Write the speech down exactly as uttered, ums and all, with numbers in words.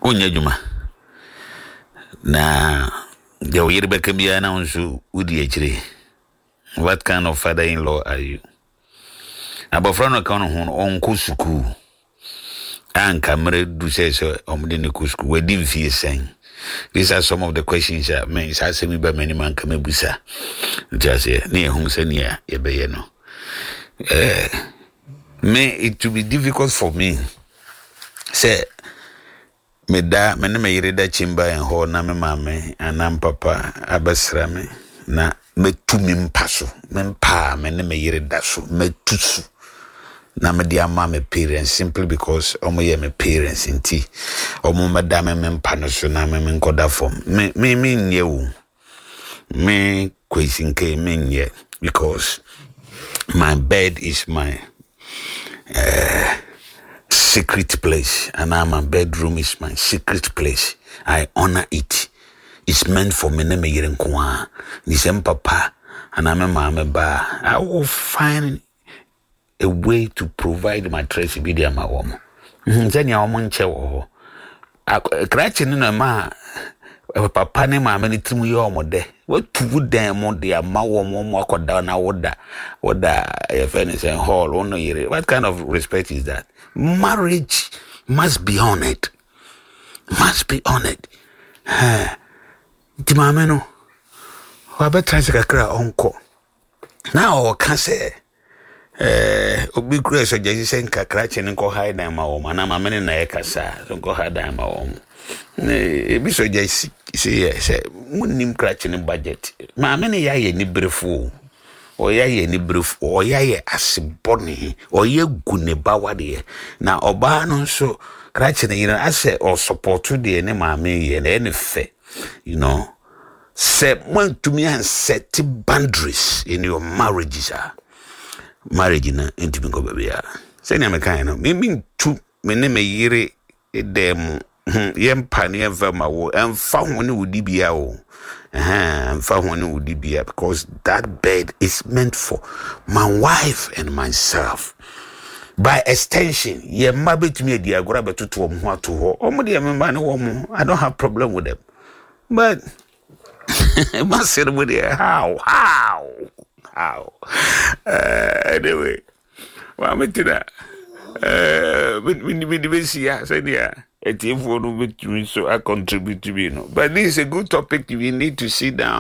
Wonyɛ adwuma na deɛ wo yere bɛka biara na wo nso wodi akyire. What kind of father in law are you? Abɔfra no ka no ho no, ɔnkɔ sukuu anka mmerɛ du sɛ sɛ ɔmde ne kɔ sukuu. Wadi mfie sɛn? These are some of the questions a me saa asɛm yi ba m'anim anka mɛbusa. Nti aseɛ ne yɛhu sɛnea yɛbɛyɛ no. eh, me it will be difficult for me sɛ meda me ne me yere da chamber and hall na me maame anaa papa abɛsra me na mɛtu me mpa so, me mpa a me ne me yere da so, mɛtu so na mede ama me parents simply because ɔmo yɛ me parents nti ɔmo mɛda me me mpa no so na me me nkɔda fam. Me me me nyɛ o. Me Kwesi Nke, me nyɛ, because my bed is my uh, secret place and now my bedroom is my secret place. I honor it. It's meant for me ne me yere nko ara. Ni sɛ papa anaa me maame ba, I will find a way to provide mattress bi de ama wɔn sɛnea wɔn nkyɛ wɔ hɔ. Krakye no na ma papa ne maame no tirim yɛ wɔn dɛ. Watu wo dan mu de ama wɔn, wɔn akɔda na woda woda yɛfɛ ne sɛ hall, wɔn no yere. What kind of respect is that? Marriage must be honoured, must be honoured. Nti maame no wabɛtena ase kakra a ɔnkɔ na ɔka sɛ ɛɛ obi kura sɛ gyesi sɛ nka krakye no nkɔ ha dan ma wɔn anaa maame no na ɛkasa so nkɔ ha dan ma wɔn. Ebi sɔ gyesi sɛ yɛ sɛ munnim krakye no budget. Maame no yɛ ayɛ niberefo, ɔyɛ ayɛ niberefo, ɔyɛ ayɛ asebɔne, ɔyɛ gu ne ba wadeɛ. Na ɔbaa no nso, krakye no yere asɛ ɔsupporto deɛ ne maame yɛ na ɛyɛ ne fɛ you know Sɛ moantumi anset boundaries in your marriages a, marriage no ntumi nkɔ baabiara. Sɛnea mekae no, me mentu me ne me yere dan mu yɛmpa ne yɛmfa ma wo, ɛmfa ho ne wo dibea o, ɛmfa ho ne wo dibea, because that bed is meant for my wife and myself. By extension, yɛn mma bɛtumi adi agorɔ abɛtoto wɔn ho ato hɔ. Wɔn deɛ, me mma ne wɔn, I don't have problem with them, but masere mu deɛ, how how how uh, anyway, maame tena mede bɛsia sɛdeɛ atiefoɔ no bɛtumi so acontribute bi no, but this is a good topic. We need to sit down.